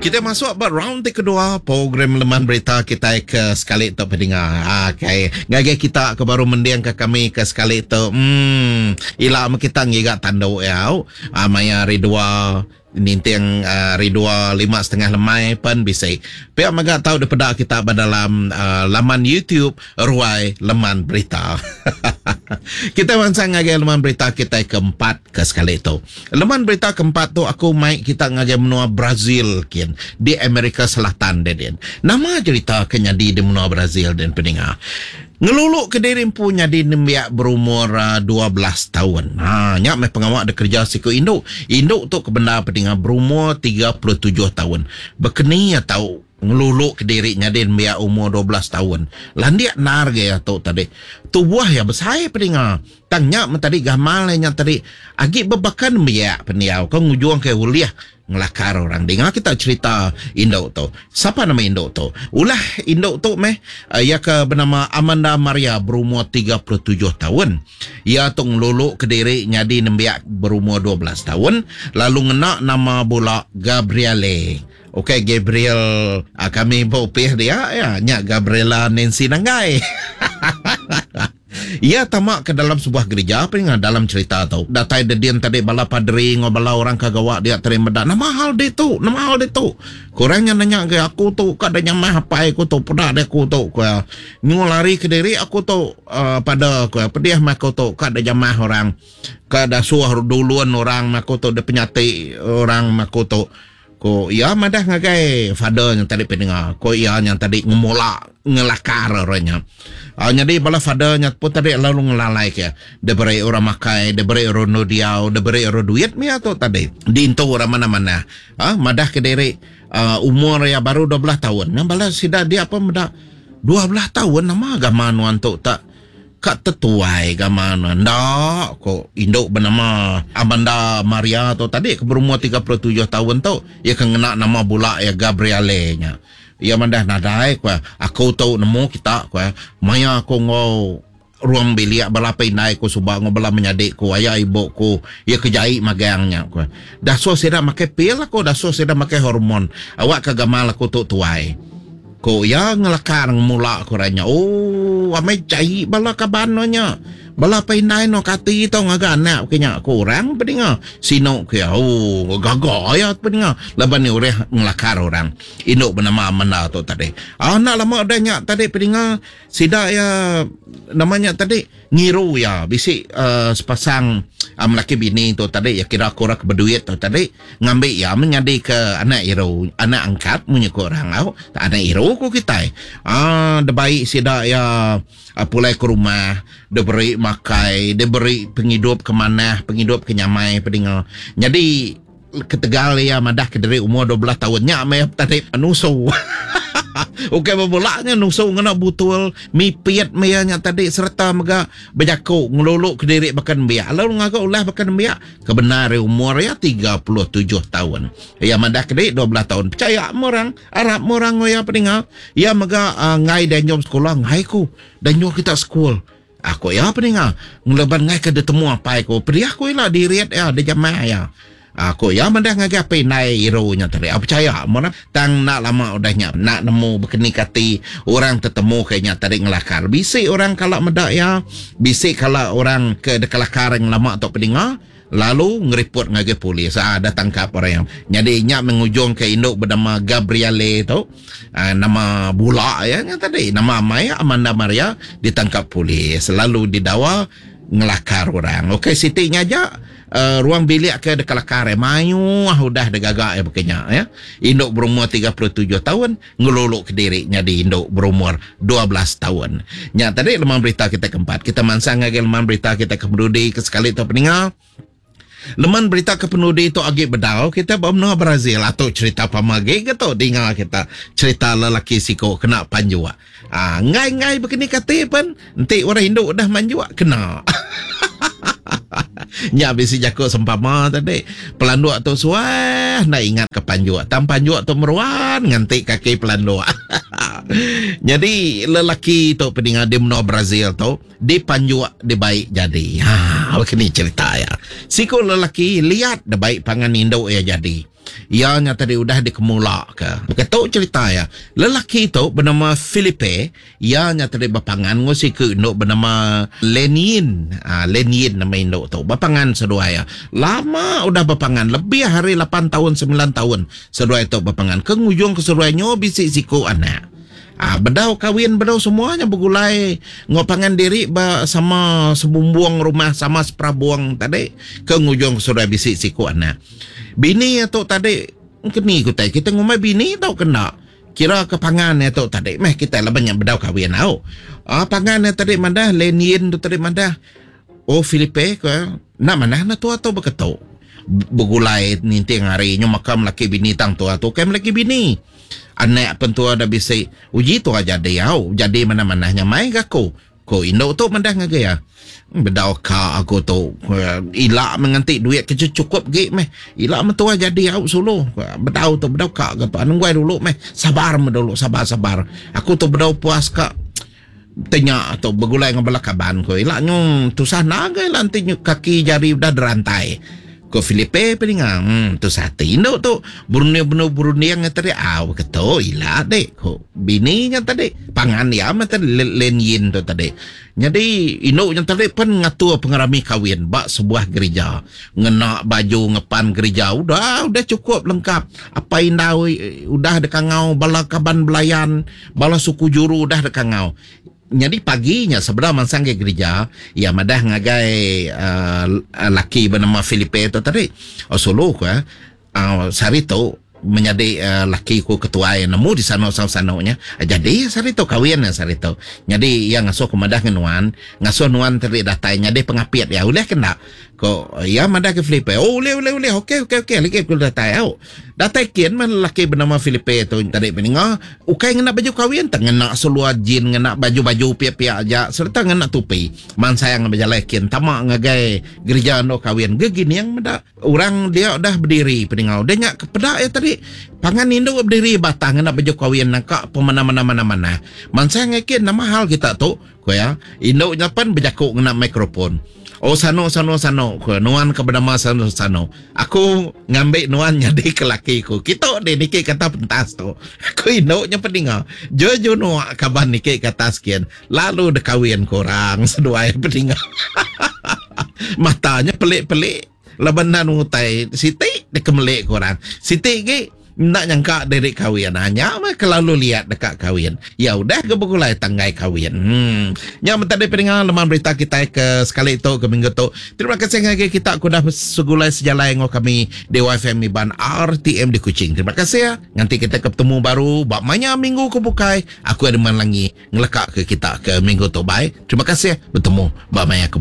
Kita masuk ba round ti kedua program Leman Berita kitai ke sekali tu pedinga. Okay. Ngagai kita ke baru mending ke kami ke sekali tu. Hmm, ila meh kita ngiga tandu ya. Ah, maya hari dua ninting hari 2:05 lemai pen bisi. Pia mega tau dipeda kita ba dalam laman YouTube Ruai Leman Berita. Kita mansang ngagai leman berita kitai keempat ke sekali tu. Leman berita keempat tu aku mai kita ngagai menua Brazil kin di Amerika Selatan dia din. Nama cerita ke nyadi di menua Brazil din peninga. Ngelulu ke diri empu nyadi nembiak berumur 12 taun. Ha nya meh pengawa dikereja siku indu. Indu tu ke bendar peninga berumur 37 taun. Bekeni iya tau ngelulu ke diri nyadi nembiak umur 12 taun. Landik endar ga iya tu tadi. Tubuh iya besai peninga. Tang nya meh tadi gamal iya nya tadi agi bebaka nembiak pendiau ke ngujung ke ulih Ngelakar orang dinga kita cherita indu tu. Sapa nama indu tu? Ulah indu tu meh iya ke benama Amanda Maria berumur 37 taun. Iya tu ngelulu kediri nyadi nembiak berumur 12 taun lalu ngena nama bula Gabrielle. Ukai Gabriel kami ba upih dia iya nya Gabriela Nancy Nanggai. Iya tama ke dalam sebuah gerija pia dalam cherita tu. Datai dedin tadi bala paderi enggau bala orang ke gawa dia tadi meda nama hal ditu, nama hal ditu. Ku orang nya nanya ngagai aku tu ka deh nyamah apai aku tu peda deh aku tu ku iya. Nyu lari kediri aku tu uhh pada ku iya pedih meh aku tu ka deh jamah orang ka dasuh dulun orang meh aku tu deh penyati orang meh aku tu. Ku iya madah ngagai father nya tadi peninga. Ku iya nya tadi ngemula ngelakar orang nya. Uh, nyadi bala father nya pun tadi lalu ngelalai ke. Diberi orang makai, diberi orang endur diau, diberi orang duit mia tu tadi. Diintu orang mana-mana. Uh, madah ke diri uh, umur iya baru 12 tahun. Ngan bala sida dia pun meda 12 tahun nama agama nuan tu tak Ka tetuai gamal ne enda ko indu benama Amanda Maria tu tadi ke berumur 37 taun tu iya ke ngena nama bula iya Gabriale nya. Iya madah nadai ku iya aku tu nemu kita ku iya maya aku enggau ruang bilik bala apai indai ku suba enggau bala menyadi ku aya ibu ku iya ke jai magang nya ku iya. Dasuh sida makai pil aku dasuh sida makai hormon awak ka gamal aku tu tuai. Ku iya ngelakar ngemula ku orang nya. Ooh amai jai bala kaban nuan nya. Bala apai indai nuan kati tau ngaga anak ke nya ku orang pedinga. Sinu ku iya. Ooh gaga iya pedinga laban iya ulih ngelakar orang indu benama Amanda tu tadi. Aaa enda lama udah nya tadi pedinga sida iya nama nya tadi. Ngiru iya bisi sepasang melaki bini tu tadi iya kira aku orang ke beduit tu tadi ngambi iya meh nyadi ke anak iru anak angkat munyi ku orang au anak iru ku kitai aaa dibai sida iya pulai ke rumah diberi makai diberi pengidup ke manah pengidup ke nyamai pedinga nyadi Ketegal iya madah ke diri umur 12 taun nya meh tadi nusu. Ukai bebula nya nusu ngena butul mipit meh iya nya tadi sereta mega bejaku ngelulu kediri baka nembiak lalu ngaga ulah baka nembiak ke bendar ari umur iya 37 taun. Iya madah ke diri 12 taun. Pechaya meh orang, arap meh orang enggau iya peninga. Iya mega enggai dianjung sekula enggai ku dianjung kita sekul. Aku iya peninga ngeleban ngai ke ditemu apai ku pedih ku ila dirit iya dijamah iya. Aku iya madah ngagai apai indai iru nya tadi. Aku pechaya mun tang enda lama udah nya enda nemu bekeni kati orang tetemu ke nya tadi ngelakar. Bisi orang kala meda iya, bisi kala orang ke dikelakar ngelama tu peninga. Lalu ngeripot ngagai polis. Aa dah tangkap orang iya. Nyadi nya meh ngujungka indu benama Gabrielle tu aa nama bula iya nya tadi nama amai Amanda Maria ditangkap polis lalu didawa ngelakar orang. Okey siti nya aja aa ruang bilik ke dikelakar iya mayuh udah digaga iya baka nya ya. Indu berumur 37 taun ngelulu kediri nyadi indu berumur 12 taun. Nya tadi leman berita kita keempat. Kita mansang ngagai leman berita kita ke penudi ke sekali tu peninga. Leman berita ke penudi tu agi bedau kita ba menua Brazil atu cerita pama agi ke tu dinga kita cerita lelaki siku kena panjuk. Ah enggai-enggai bekeni kati pen enti orang indu udah manjuk kena. Nya bisi jaku sempama tadi. Pelanduk tu suah enda ingat ke panjuk. Tang panjuk tu meruan nganti kaki pelanduk. Nyadi lelaki tu peninga di menua Brazil tu dipanjuk dibai jadi. Ha. Baka ni cherita iya. Siku lelaki liat da bai pangan indu iya jadi. Iya nya tadi udah dikemulaka. Baka tu cherita iya. Lelaki tu benama Filipe, iya nya tadi bepangan enggau siku indu benama Lenin. Ha, Lenin nama indu tu. Bepangan seduai iya. Lama udah bepangan, lebih ari lapan taun, semilan taun seduai tu bepangan. Ke ngujungka seduai nyu bisi siku anak. Ha, bedau kawin bedau semua nya begulai enggau pangan diri ba sama sebumbung rumah sama seperabung tadi ke ngujungka seduai bisi siku anak. Bini iya tu tadi keni ku tai kita ngumbai bini tau ke enda. Kira ke pangan iya tu tadi meh kitai laban nya bedau kawin au. Aa pangan iya tadi madah Lenin tu tadi madah oh Filipe ku iya enda manah ne tua tu beketu. Begulai ninting hari nyu maka melaki bini tang tua tu ukai melaki bini. Anak pen tua dah bisi uji tua jadi au jadi manah-manah nya mai ga aku. Ko indu tu madah ngagai iya. Bedau ka aku tu. Ila meh nganti duit ke chukup gi meh. Ila meh tuai jadi au sulu. Bedau tu bedau ka ga tu. Anang guai dulu meh. Sabar meh dulu sabar sabar. Aku tu bedau puas ka tenya tu begulai enggau bala kaban ku. Ila nyu tusah naga ila enti nyu kaki jari udah derantai. Ko Filipe peninga, Hmm, tusah ati indu tu. Berunding benung berunding nya tadi, au ke tu ila dik, ko bini nya tadi. Pangan iya meh tadi Len Yin tu tadi. Nyadi indu nya tadi pen ngatur pengerami kawin ba sebuah gerija. Ngena baju ngepan gerija udah udah chukup lengkap. Apai indai udah dikangau, bala kaban belayan, bala suku juru udah dikangau. Nyadi pagi nya sebedau mansang ngagai gerija, iya madah ngagai uhh laki benama Filipe tu tadi, Oh sulu ku iya, uhh sehari tu menyadi uhh laki ku ketuai nemu disanu sanu-sanu nya. Jadi sehari tu kawin iya sehari tu. Nyadi iya ngasuh ku madah ngan nuan, ngasuh nuan tadi datai nyadi pengapit iya. Ulih ke enda? Ko iya madah ke Filipe, Oh ulih ulih ulih, okey okey okey lagi aku datai au. Datai kin meh lelaki benama Filipe tu tadi peninga ukai ngena baju kawin tang ngena seluar jean ngena baju-baju pia-pia aja sereta ngena tupi. Mansang bejalai kin tama ngagai gerija endur kawin gegining meda orang dia udah bediri peninga udah nya ke peda iya tadi pangan indu bediri batang ngena baju kawin nangka pemanah-manah manah-manah. Mansang ngagai kin nama hal kita tu? Ku iya, indu nya pen bejaku ngena mikrofon. Oh sanu sanu sanu, ku iya, nuan ke benama sanu sanu. Aku ngambi nuan nyadi ke laki ku. Kitu dih niki ke atas pentas tu. Ku indu nya peninga. Ju ju nuak kaban niki ke atas kin. Lalu dikawin ku orang seduai peninga. Mata nya pelik-pelik laban enda nemu utai siti dikemelik ku orang. Siti agi enda nyangka diri kawin. Ha nya meh kelalu liat deka kawin. Ya udah ga begulai tanggai kawin. Hmm. Nya meh tadi peninga leman berita kitai ke sekali tu ke minggu tu. Terima kasih ngagai kita ke udah segulai sejalai enggau kami di YFM Iban RTM di Kuching. Terima kasih ya. Nganti kita ke betemu baru ba maya minggu ke bukai. Aku Edmund Langi ngeleka ke kita ke minggu tu. Bye. Terima kasih betemu ba maya ke.